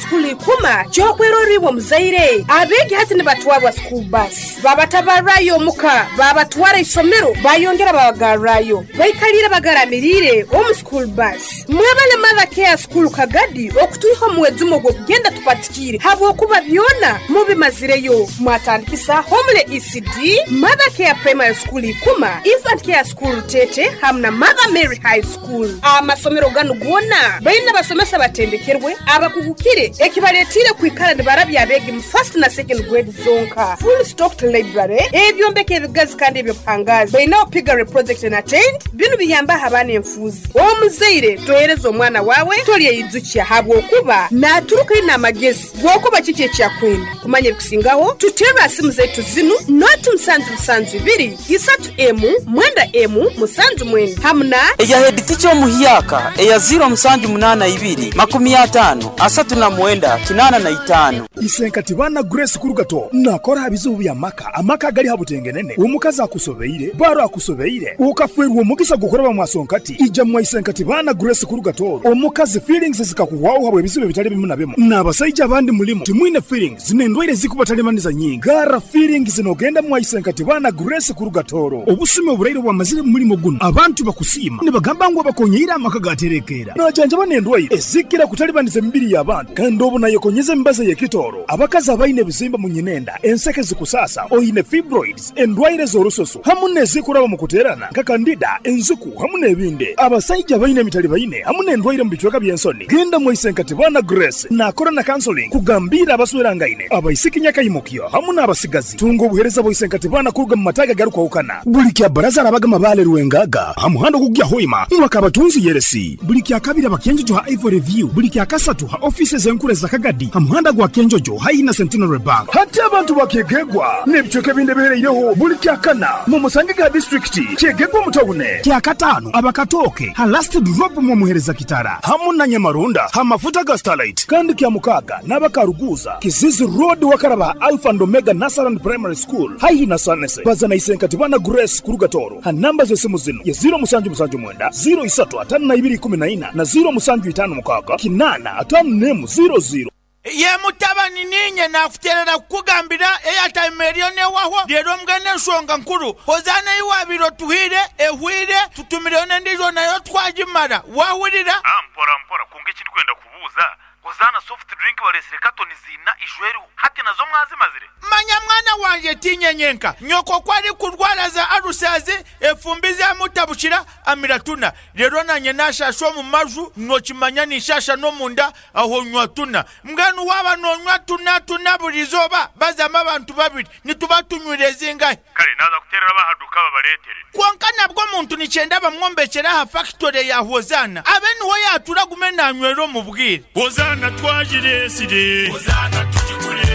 School Ikuma ky'okwerorra iwe omuzaire. Abeegi hati nibatwarwa school bus, babatabarrayo omuka, babatwara isomero, bayongera babagarrayo. Baikaliire bagaramiriire omu school bus. Mwebale Mother Care School Kagadi okutwiha omu mwejumo ogw'okugenda tupatikiire habwokuba byona mubimazireyo. Mwatandikisa Homely ECD, Mother Care Primary School Ikuma, Infant Care School Rutete hamu na Mother Mary High School. Amasomero ganu goona baine abasomesa abatendekerwe, abakugukire ekibaletiire kwikara nibarabya abeegi mu first na second grade zonka. Full stocked library, ebyombeko ebigazi kandi eby'obuhangaazi. Bainaho piggery project na tent, binu biyambaho abaana enfuuzi. Omuzaire tohereza omwana waawe tolyeyijukya habwokuba naaturuka aine amagezi g'okuba kiki eki akwenda. Kumanya ebikusingaho, tuterre ha simu zaitu zinu, noti musanju musanju ibiri, isatu emu, mwenda emu, musanju mwenda hamu na. Eya headteacher omuhyaka eya ziro musanju munaana ibiri, makumi ataano, asatu na mwenda, kinaana na itaano. Isenkati baana Grace Kurugato nakora ha bizibu by'amaka, amaka agali ha butengenene, omukazi akusobeire, baro akusobeire, okafeerwa omugisa gw'okuraba mwasonkati, ija mwa Isenkati baana Grace Kurugato, omukazi feelings zikakuhwaho habw'ebizibu ebitali bimu na bimu, n'abasaija abandi mulimu timwine feelings n'endwaire ezikubatalibaniza nyingi, garra feelings n'ogenda mwa Isenkati baana Grace Kurugatoro. Obusumi oburaire obwamazire mu mulimo gunu, abantu bakusiima nibagamba ngu abakonyeire amaka gaterekeera. Najanjaba n'endwaire ezikira kutalibaniza emibiri y'abantu kandi obu nayekonyeza emibazi ey'ekitooro. Abakazi abaine ebizimba mu nyinenda, enseke zikusaasa, oine fibroids, endwaire z'orususu hamu n'ezikuraba mu kuteerana nka kandida, enziku hamu n'ebindi. Abasaija abaine emitalibaine hamu n'endwaire mu bicweka by'ensoni, genda mwa Isenkatibana Grace naakora na counseling kugambiira abaswerangaine, abaisiki nyakaimukyo hamu n'abasigazi. Tunga obuheereza bwa Isenkatibana kuruga mu mataagi agarukwahukana. Buli kya Baraza arabaga Mabaale Rwengaga ha muhanda ogukugya Hoima mwaka Abatunzi Yeresi. Buli kya Kabiri aba Kyenjojo ha Ivory View. Buli kya Kasatu ha ofiisi ez'enkuru eza Kagadi ha muhanda gwa Kyenjojo haihi na Centenary Bank. Hati abantu ba Kyegegwa n'ebicweka ebindi ebihereireho buli kya Kana mu musange ga disiturikiti Kyegegwa omu tawune. Kya Kataano aba Katooke ha Last Drop mw'omuheereza Kitara hamu na Nyamaronda ha mafuta ga Starlight. Kandi kya Mukaaga n'aba Karuguuza, Kizizi Road wakaraba ha Alpha and Omega Nursery and Primary School haihi na Sanese. Baza na Isenkatibana Grace kuruga Tooro ha namba z'esimu zinu ye ziro musanju musanju mwenda, ziro isatu ataano na ibiri ikumi na ina na ziro musanju itaano mukaaga kinaana ataano n'emu ziro ziro. Ye mutabani, niinye naakuteerera kukugambira eyataima eriyo n'ehwaho. Reero mbwenu enshonga nkuru, Hozaana ei waabaire otuhaire ehwaire, tutumireyo n'endiijo nayo twagimara. Waahurira? Mpora mpora, kwonka eki ndikwenda kubuuza, Hozaana soft drink bareetsire katoni ziina ijo eriho, hati nazo mwazimazire? Manya mwana wangye, tiinye nyenka. Nyoko ku arikurwara za alusazi, efumbi zaamutabukira, amira tuna. Reero naanye naashaasha omu maju, nookimanya ninshaasha n'omunda, aho nywa tuna. Mbwenu waaba noonywa tuna tuna buri izooba, bazamu abantu babiri, nituba tunywire zingahi? Kare naaza kuteerera ab'aha duuka babareetere. Kwonka nabwo omuntu nikyenda bamwombekyere aha fakitore ya Hozaana, abe niho yaatuura agume naanywera omu bwire. Hozaana twagireetsire. Hozaana tugigure.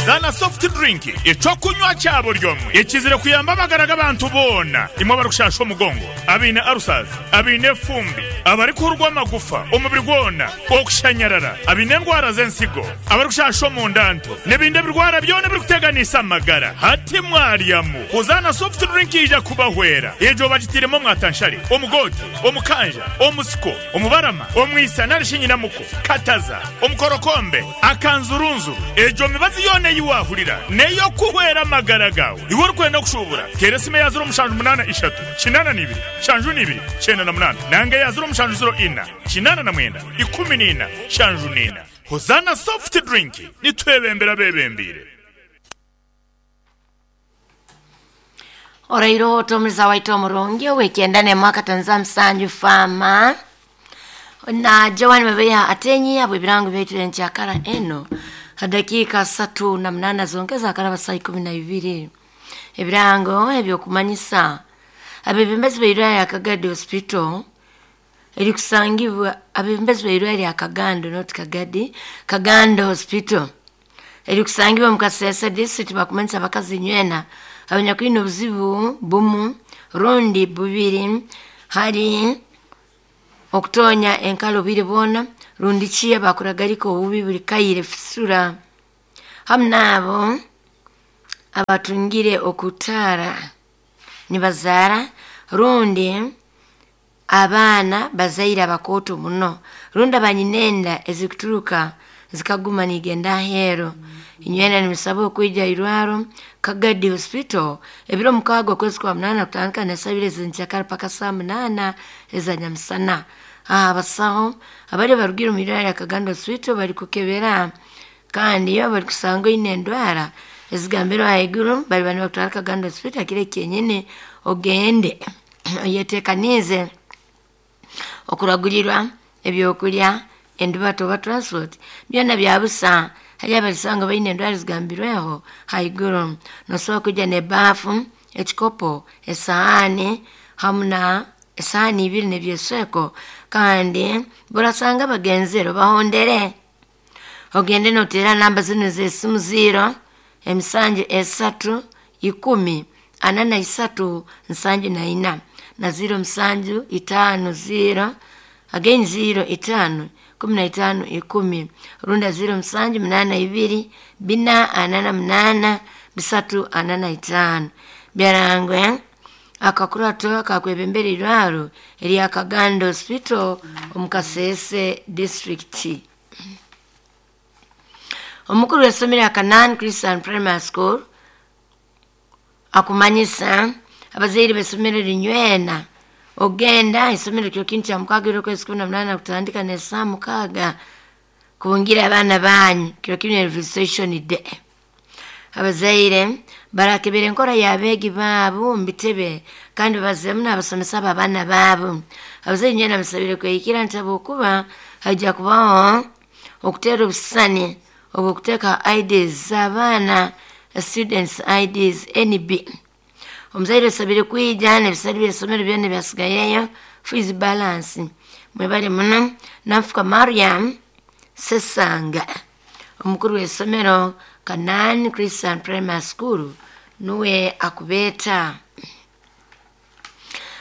Hozaana soft drink, eky'okunywa kya buri omwe ekizire kuyamba amagara g'abantu boona, imwe abarikushaasha omugongo, abaine ulcers, abaine efumbi, abarikuhurwa amagufa omubiri gwona, okushanyarara, abaine endwara z'ensigo, abarikushasha omunda nto, n'ebindi ebirwara byona ebirikuteganiisa amagara. Hati mwaryamu Hozaana soft drink eija kubahwera. Egyo bagitairemu omwatanshare, omugoote, omukanja, omusiko, omubarama, omwisa nari shi nyinamuko, kataza, omukorokombe, akanzurunzuru. Egyo mibazi yoona ei waahurira n'ey'okuhwera amagara gaawe. Iwe orikwenda kushuubura, teera esimu eya ziro mushanju munaana ishatu, kinaana na ibiri, nshanju na ibiri, kyenda na munaana nanga eya ziro mushanju ziro ina, 89, 14, 74. Hozaana Soft Drink, nitwebembera abeebembeire. Oraire ota omuliza waitu omurungi ow'ekyenda n'emwe akatonza musanju Farmer na Joan Mabeya Atenyi habw'ebirango byaitu enkyakara eno ha dakiika asatu na munaana zonka ezakaraba saa ikumi na ibiri. Ebirango eby'okumanyisa abebembezi b'eirwariro lya Kagadi Hospital erikusangibwa abebembezi b'eirwariro lya Kagando not Kagadi, Kagando Hospital erikusangibwa omu Kasese district bakumanyisa abakazi nywena abanyakwine obuzibu bumu rundi bubiri hali okutonya enkala obwire bwona rundi ki abakuragarika obubi buli kaire fisura hamu naabo abatungire okutaara nibazaara rundi abaana bazaire abakooto muno. Rundi abanyinenda ezikuturuka zikaguma nigenda ahero. Inywena nimusaba okwija irwaro Kagadi Hospital ebiro 6 okwezi kwa 8 kutandika na saa 2 ez'enkyakara paka saa 8 eza nyamusana. Abasaho abari barugire omu irwaro lya Kagadi Hospital bari kukebera kandi iyo bari kusanga oine endwara ezigambirwe ahaiguru bari bani bakutwara Kagadi Hospital kiro kyenyine ogende oyetekanize okuragurirwa ebyokulya endubato oba transport byona byabusa. Hali abalisanga baine endwara zigambirweho haiguru. Nosobola kujja n'ebaafu, ekikopo, esahani hamu na esahani ibiri n'ebyesweko, kandi burasanga bagenzere bahondere. Ogende noteera namba zinu z'esimu 0 7 3 10 43 74 na 0 7 5 0 again 0 5 15 10 runda 0 7 8 2 4 48 3 45. Byarangwe akakurato kakwebembera irwaro erya Kagando Hospital omu Kasese District. Omukuru w'essomero ya Canaan Christian Primary School akumanyisa abazaire b'essomero linywena ogenda isomero kyo kintu kya 6 okwezi 18 kutandika ne saa 6 kubungira abaana banyu kiro kino registration day. Abazaire barakebera enkora y'abeegi baabo mu bitebe kandi bazemu n'abasomesa b'abaana baabo. Abazaire nywena basabire kwehikira nti habwokuba haija kubaho okuteera obusisani obw'okuteeka IDs z'abaana, students IDs NB. Omuzaire osabire kwija n'ebisale by'essomero byona ebyasigaireyo fees balance. Mwebale muno. Nanfuka Mariam Sesanga omukuru w'essomero Canaan Christian Primary School nuwe akubeeta.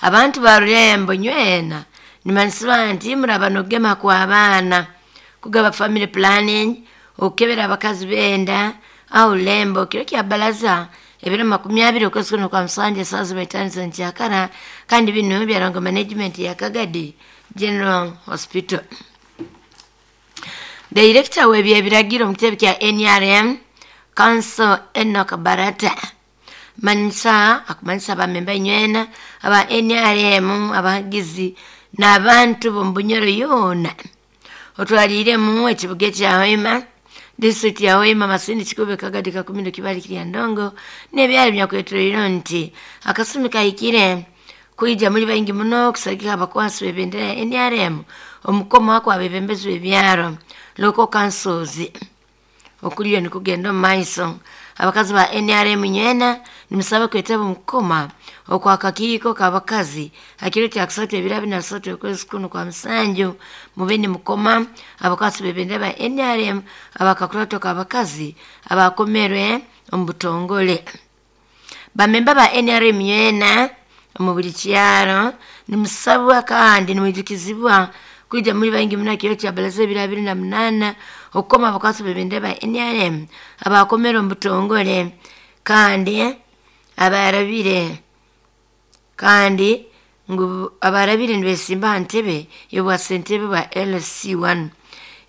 Abantu ba Rurembo nywena nimanyisibwa nti muraba n'okugema kw'abaana, kugaba family planning, okukebera abakazi benda aho Rurembo kiro kya baraza ebiro 20 okwezi kuno kwa 7 saa 5 z'enkyakara, kandi bino byarangwa management ya Kagadi General Hospital. Director w'ebyebiragiro mu kitebe kya NRM Council Enoch Barata manyisa akumanyisa abamemba inywena aba NRM abahagizi n'abantu b'omu Bunyoro yoona otwaliiremu ekibuga ekya Hoima, district ya Hoima, Masindi, Kikube, Kagadi, Kakumiro, Kibali, Kiryandongo n'ebyalo byakwetoreire nti akasumi kahikire kwija muri baingi muno kusagika abakwasi b'ebendera ya NRM omukoma kwabebembezi b'ebyaro local councils okuliyo nikugenda omu maiso. Abakazi ba NRM nywena nimusaba kwetaba omukoma okwakakiiko k'abakazi hakiro kya kusatu ebiro 23 okwezi kuno kwa 7 mube nimukoma abakwasi b'ebendera ba NRM abakakurato k'abakazi abakomerwe omu butongole. Bamemba ba NRM nywena omu buli kyaro nimusabwa kandi nimwijukizibwa kwija muri baingi muno kiro kya baraza ebiro 28 okukoma abakwasi b'ebendera ba NRM abakomera omu butongole kandi abarabire kandi ngu abarabire nibesimba aha ntebe y'obwasentebe bwa LC1.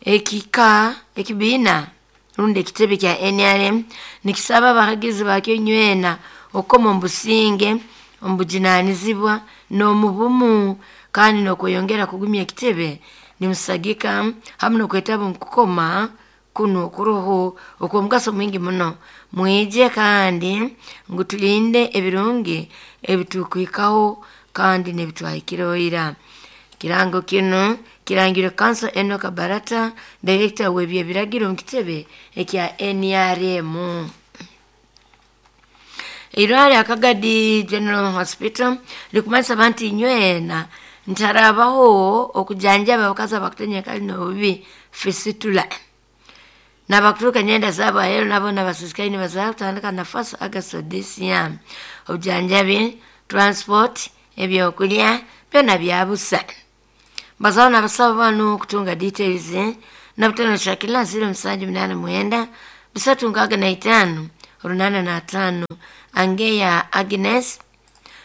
Ekika ekibiina rundi ekitebe kya NRM nikisaba abahagizi bakyo nywena okukoma omu businge, omu bujunanizibwa n'omu bumu kandi n'okweyongera kugumya ekitebe nimusagika hamu n'okwetaba omu kukoma kuno kuroho okw'omugaso mwingi muno. Mwije kandi ngu tulinde ebirungi ebitukwikaho kandi n'ebitwahikireho ira. Kirango kino kirangirwe Council Enoch Barata, Director w'ebyebiragiro mu kitebe ekya NRM. Irwaro lya Kagadi General Hospital likumanyisa abantu inywena ntarabaho okujanjaba abakazi abakutenya kali n'obubi fisitula n'abakuturuka nyenda zaabo aheeru nabo n'abasisikaine bazaara kutandika na 1 August this year. Obujanjabi, transport, ebyokulya byona byabusa. Bazaho n'abasaba banu kutunga details na butano Shakila 0 7 8 9 3 65 85 Angeya Agnes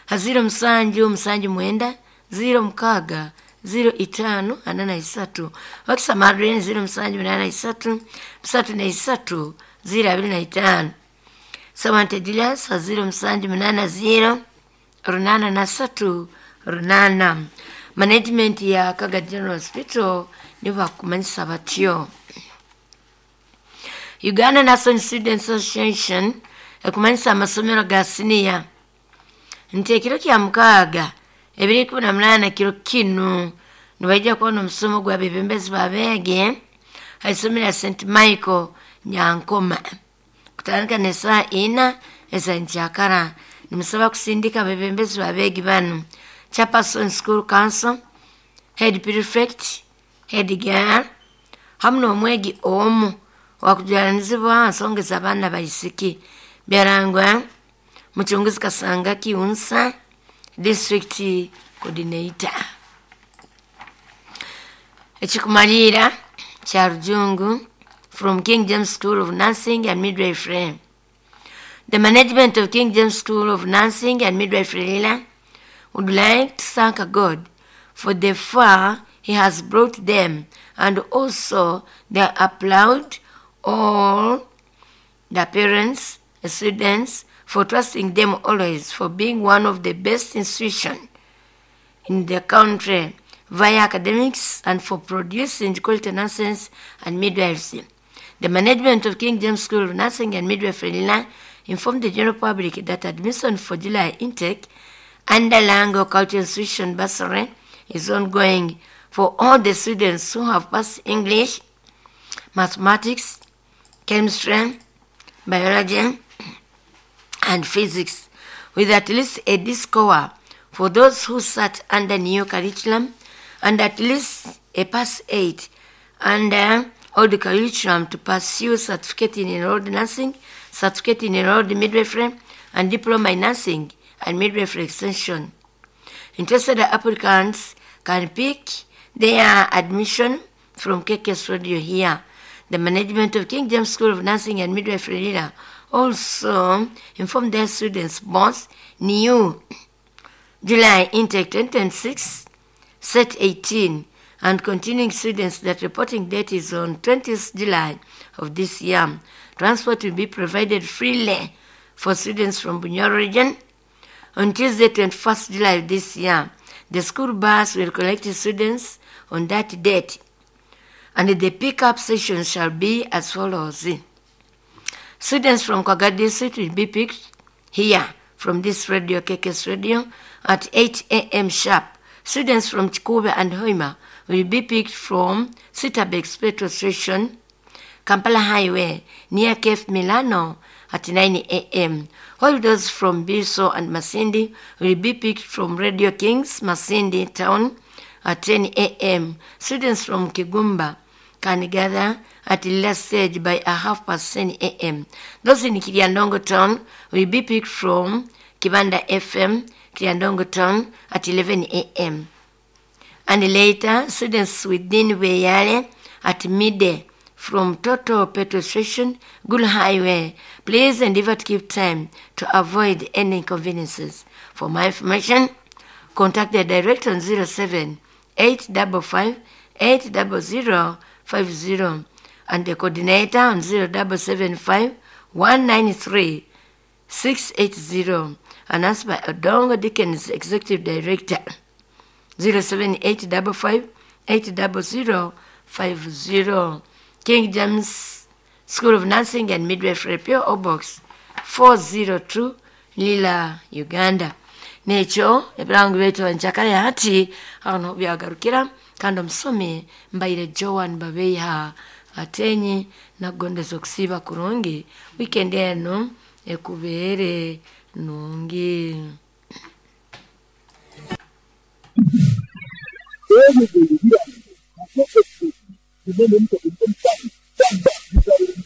0 7 7 9 0 6 05 43. Wakisa Madrine 0783 33 025. Sawante Julius 0780 83 8. Management ya Kaga General Hospital nibo bakumanyisa batyo. Uganda National Students Association ekumanyisa amasomero ga siniya nti ekiro kya mukaaga 2018 kiro kinu nibaija kubona omusomo gwa bebembezi babeege haisomero ya St Michael Nyankoma kutandika nesaa ina ezankyakara. Nimusaba kusindika abebembezi babeegi banu: chairperson school council, head prefect, head girl hamu n'omwegi omu wakujuranizibwa nsonga z'abaana baisiki. Byarangwa muchunguzi Kasanga Kiunsa, district coordinator. Ekikumalira kya Rujungu from King James School of Nursing and Midwifery. The management of King James School of Nursing and Midwifery Lila would like to thank God for the far he has brought them, and also they applaud all the parents, the students, for trusting them always, for being one of the best institutions in the country via academics and for producing quality nurses and midwives. The management of King James School of Nursing and Midwifery Lila informed the general public that admission for July intake under Lango Cultural Institution Bursary is ongoing for all the students who have passed English, mathematics, chemistry, biology, and physics with at least a D score for those who sat under new curriculum and at least a pass 8 under old curriculum to pursue certificate in enrolled nursing, certificate in enrolled midwifery, and diploma in nursing and midwifery extension. Interested applicants can pick their admission from KKS Radio here. The management of King James School of Nursing and Midwifery Lila also informed their students both new July intake 2026, set 18, and continuing students that reporting date is on 20th July of this year. Transport will be provided freely for students from Bunyoro region. On Tuesday, 21st July of this year, the school bus will collect students on that date, and the pickup session shall be as follows. Students from Kwaga District will be picked here from this radio, KKS Radio, at 8 a.m. sharp. Students from Chikube and Hoima will be picked from Sitabex petrol station, Kampala Highway, near Cape Milano at 9 a.m. While those from Biso and Masindi will be picked from Radio Kings, Masindi Town at 10 a.m. Students from Kigumba can gather at the last stage by 10:30 a.m. Those in Kiryandongo Town will be picked from Kibanda FM, Kiryandongo Town at 11 a.m. And later, students within Weyale at midday from Total Petrol Station, Gulu Highway. Please endeavor to keep time to avoid any inconveniences. For more information, contact the director on 07 855 800 50 and the coordinator on 0775 193 680. Announced by Odongo Dickens, Executive Director. 07855 800 50. King James School of Nursing and Midwifery, P.O. Box 402, Lila, Uganda. Nekyo ebirango byaitu njakale hati aho byagarukira, kandi omusomi mbaire Joan Babeiha Atenyi, nakugondeza okusiiba kurungi weekend eno ekubeere nungi.